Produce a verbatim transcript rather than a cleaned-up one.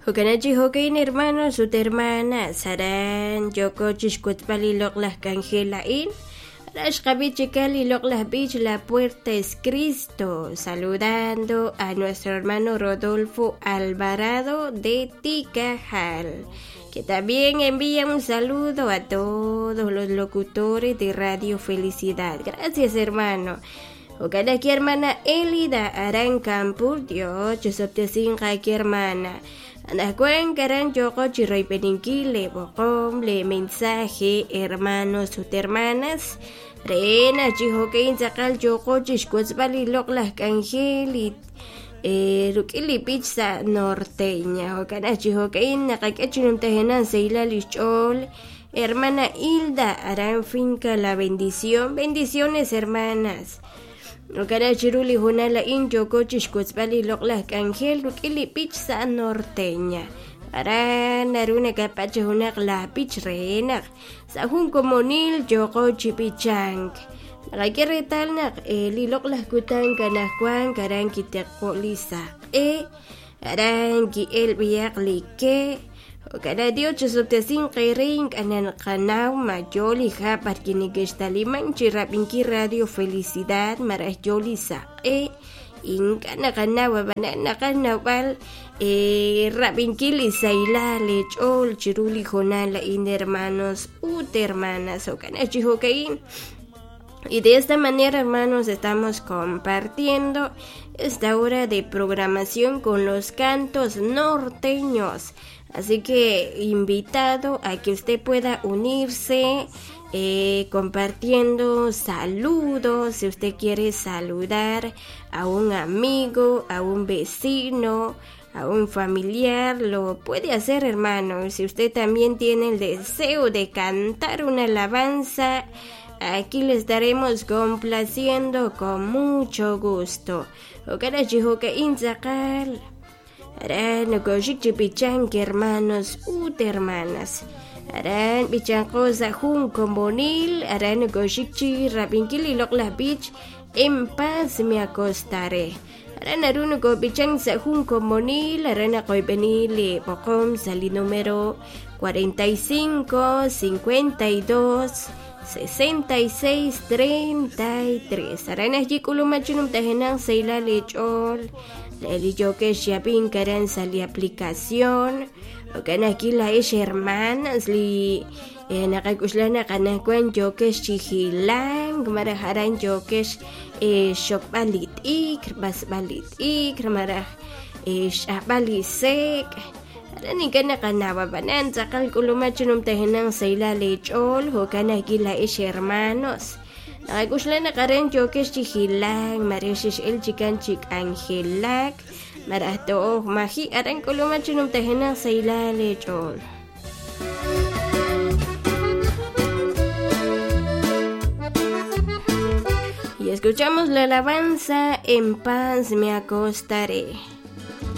Jo'kanachi jo'kain hermanos ut hermanas aran yooko chixk'utb'al li loq'laj k'anjel a'in aran xqab'i chikal li loq'laj b'ich La Puerta es Cristo, saludando a nuestro hermano Rodolfo Alvarado de Ticajal, que también envía un saludo a todos los locutores de Radio Felicidad. Gracias, hermano. Jo'kanaki hermana Elida aran Campur, Dios chosoptesinqa aki hermana. Anajkuan karan yoko chiroyb'eninkil le b'oqom le mensaje hermanos ut hermanas re chi jo'kain tz'aqal yoko chixk'utzb'al li loq'laj k'anjel eh, ruk'il li b'ich sa' norteña jo'kanaj chi jo'kain naqak'e chinumtajenan seylal ixch'ool hermana Hilda aran finca La Bendición. Bendiciones, hermanas. Jo'kanaj chiru li junal a'in yooko chixk'utzb'al li loq'laj k'anjel ruk'il li b'ich sa' norteña aran naru nakapach junaq la b'ich re naq sa' jun komonil yooko chi b'ichank naqak'e reetal naq eh, li loq'laj kutan kanajwan aran kiteqo' li saq'e aran ki'el b'iyaq li ke Jo'kanaj Dios chosoptesin qerin k'anan qanaw ma yo li hab' b'ar kinikextaliman chi rab'inkil Radio Felicidad maraj yo li saq'e ink'a' naqanaw ab'anan naqaj nawb'al eh, rab'inkil li saylal li ch'ool chiru li jonal a'in hermanos ut hermanas jo'kanaj chi jo'ka'in. Y de esta manera, hermanos, estamos compartiendo esta hora de programación con los cantos norteños. Así que invitado a que usted pueda unirse eh, compartiendo saludos, si usted quiere saludar a un amigo, a un vecino, a un familiar, lo puede hacer, hermano. Si usted también tiene el deseo de cantar una alabanza, aquí le estaremos complaciendo con mucho gusto. Aran nokoxik chi b'ichank hermanos ut hermanas. Aran b'ichanqo sa' jun komonil, aran nokoxik chi rab'inkil li loq'laj b'ich en paz me acostaré. Aran naru nokob'ichank sa' jun komonil, aran naqoyb'eni li b'oqom sa' li número cuarenta y cinco, cincuenta y dos, sesenta y seis, treinta y tres. Aran ajyi k'uluma chinumtajenaq saylal li ch'ool li yokex yapin karan sa li aplicación jo'kan aquí la ix hermanas li eh, naqak'uxlaj naqanajkuan yokex chijilank maraj aran yokex eh, xokb'al li t'ikr b'asb'al li t'ikr maraj eh, x'ajb'al li sek' aran ink'a' naqanaw ab'anan tz'aqal k'uluma chinumtajenaq saylal li ch'ool jo'kan aquí la ix hermanos naqak'uxlaj naqaren yokex chijilank maraj xix'el chikan chik'anjelak maraj to'oj maji' aran k'uluma chinumtajenaq saylal li ch'ool. Y escuchamos la alabanza En paz me acostaré.